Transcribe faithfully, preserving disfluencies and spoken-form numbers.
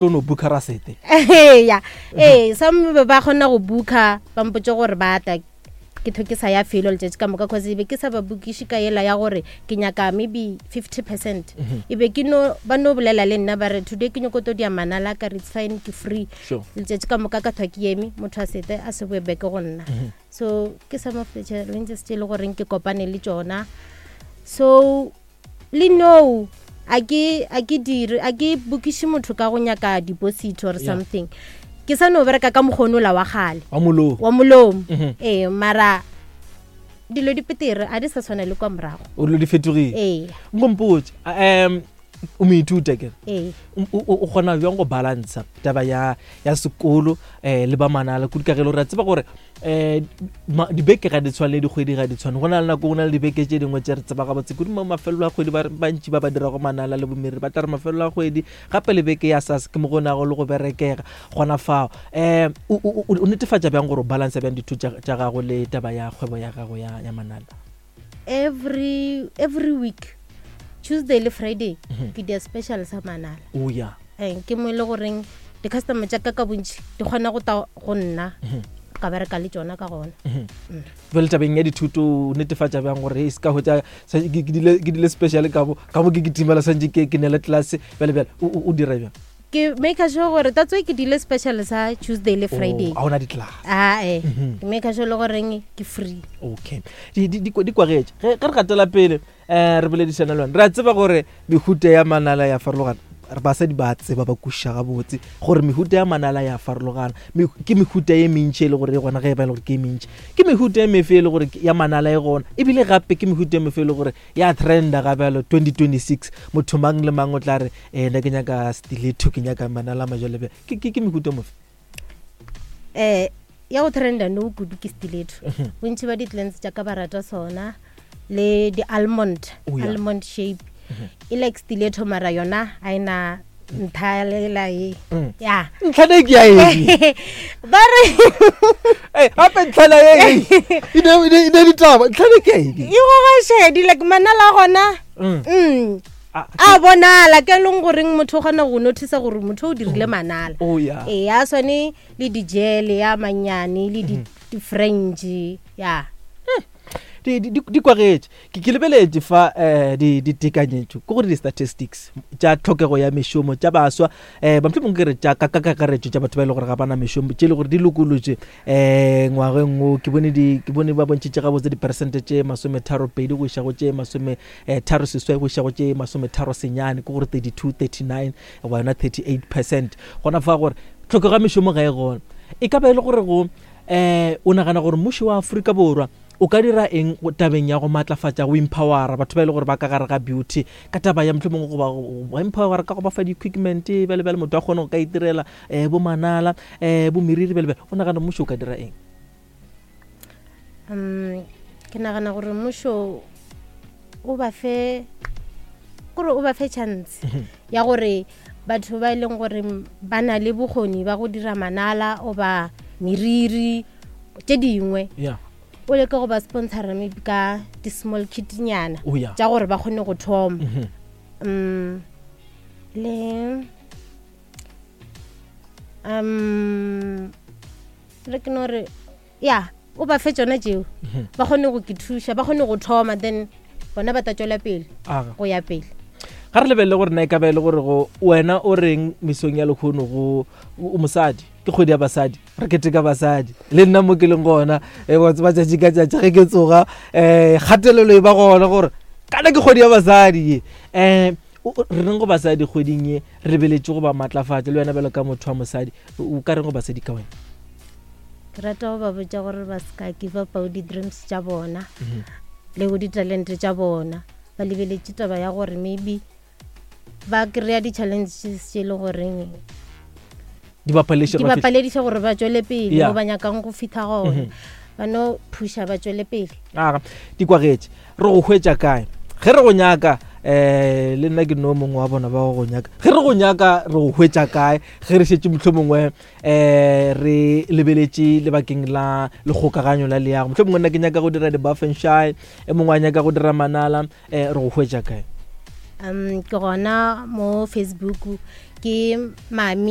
Tlo no booka rasete. Ya, ee, some be ba kgona go booka, ba mpotse gore ba tla, ke tho ke sa ya felo letšatši ka moka, cause e be ke sa ba bookiše ka ela ya gore ke nyaka maybe fifty percent. E be ke no ba no bolela le nna, ba re, "Today ke nyako to dia manala." Ka re, "It's fine, ke free." Sure letšatši ka moka ka thwa ke eme, motho a sete a se boe back go nna. So ke some of the challenges tše e le goreng ke kopane le tšona. So le no a ke a ke dire, a ke bookiše motho ka go nyaka deposit or Yeah. something. Ke sa no bereka ka mokgonola wa gale. Wa molomo. Wa molomo. Mhm. Ee, mara dilo di petere, a di sa tshwana le kwa morago. O dilo di fetogile. Ee. Nkompotse, um o moithuta kere? Ee. O o- o kgona bjang go balansa taba ya ya sekolo um le ba manala, kudu ka ge e le gore re a tseba gore um dibeke ga di tshwane le dikgwedi ga di tshwane? Go na le nako, go na le dibeke tše dingwe tše re tseba gabotse kudu mo mafelelo a kgwedi, ba bantši ba ba dirago manala le bomeriri ba tla re mafelelo a kgwedi, gape le beke ya sas ke mo go nago le go berekega gona fao. um o o- o netefatša bjang gore o balansa bjang dithuto tša tša gago le taba ya kgwebo ya gago ya ya manala? every every week, Tuesday le Friday, ke dia special sa manala. O ya. Eh, ke mo e le goreng di-customer tša ka ka bontši di kgona go ta go nna, ka bereka le tšona ka gona. Jale tabeng ya dithuto, o netefatša bjang gore e se ka hwetša sa- ke ke dile ke dile special ka mo ka mo ke kitimela, santse ke ke nele class, bjale bjale o o- o dira bjang? Ke make sure gore that's why ke dile special sa Tuesday le Friday. Oh, ga ona di-class. Ae, ke make sure le goreng ke free. Okay, di di di di kwagetše. ge ge re gatela pele, um re boledišana le wena, re a tseba gore mehuta ya manala ya farologana. Re basadi ba tseba, ba kwešiša gabotse gore mehuta ya manala ya farologana. Me- ke mehuta ye mentši e le gore e gona. Ge e ba e le gore ke e mentši, ke mehuta e mefe e le gore ke- ya manala e gona, ebile gape ke mehuta e mefe e le gore ya trenda ga bjalo twenty twenty-six, motho mang le mang o tla re, um nna ke nyaka stiletto, ke nyaka manala a majalebjale"? ke ke- ke mehuta e mofe? um ya go trenda no kudu ke stiletto. Bontši ba di-clients tša ka ba rata sona le di-almond. Oh, yeah. Almond shape e like stiletto, mara yona a ena ntha lela e. Mm. Ya. Ntlhana e ke ya eng? Ba re Ei, gape ntlhana e e ne e ne- e ne ditaba, ntlhana e ke ya eng? E goga šedi, like manala a gona. Mm. mm Ah, a bonala ke leng goreng motho o kgona go notice gore motho o dirile manala. Oh ya. Ee, a swane le dijele ya mannyane le di- di-french ya. di di- di di kwagetše. ke ke lebeletše fa um ditekanyetšo, ke gore di-statistics tša tlhokego ya mešomo tša baswa, um ba mohlomongwe ke re tša ka ka kakaretšo tša batho ba e le gore ga bana mešomo, tše e le gore di lokolotše um ngwageng o. Ke bone di ke bone ba bontšhitše gabotse diperesente tše masometharo pedi go iša go tše masome eh, tharo seswai go iša go tše masometharo senyane, ke gore thirty-two, thirty-nine goba yona thirty-eight percent gona fa, gore tlhokego ya mešomo ga e gona. E ka ba e le gore go um o nagana gore mmušo wa Afrika Borwa o ka dira eng go- tabeng ya go maatlafatša, go empowera batho ba e le gore ba ka gare ga beauty, ka taba ya mohlomongwe go ba go empowera ka go ba fa di-equipment, bjale bjale motho a kgone go ka itirela um bo manala, um bo meriri, bjale bjale? O nagana mmušo o ka dira eng? um ke nagana gore mmušo o ba fe, kore o ba fe chance ya gore batho ba e leng gore ba na le bokgoni ba go dira manala oba meriri tše dingwe, ya o leke go ba sponsora maybe ka di-small kitnyana o ya tša gore ba kgone go thoma. Mhm. um le um re ke no re ya, o ba fe tšona tšeo, ba kgone go ke thuša, ba kgone go thoma, then bona ba ta tšwela pele Aga. go ya pele. Ga re lebelele gore na e ka ba e le gore go wena o reng mesong ya lekgono go o mosadi. Ke kgwedi ya basadi, re keteka basadi. Le nna mo ke leng gona, e wa tseba, tšatši ka tšatši ge ke tsoga, um kgatelelo e ba gona gore kana ke kgwedi ya basadi ye. um re reng go basadi kgweding ye, re lebeletše go ba maatlafatša? Le wena bjalo ka motho wa mosadi, o ka reng go basadi ka wena? Ke rata go ba botša gore ba se ka give up di-dreams tša bona le go ditalente tša bona. Ba lebeletše taba ya gore maybe ba kry-a di-challenges tše e le goreng di ba palediša di gore ba ba fihle- palediša gore ba tšwele pele Yeah. mo ba nyakang go fitlha gona. Ba no phusha, ba tšwele pele. Aga, di kwagetše. Re go hwetša kae ge re go nyaka? um le nna ke no mongwe wa bona ba go go nyaka. Ge re go nyaka, re go hwetša kae ge re šetše mohlomongwe um re lebeletše lebakeng la lekgokaganyo la leago? Mohlomongwe nna ke nyaka go dira di-buff and shine, e mongwe a nyaka go dira manala, um re go hwetša kae? Um ke gona mo Facebook, ke Mami.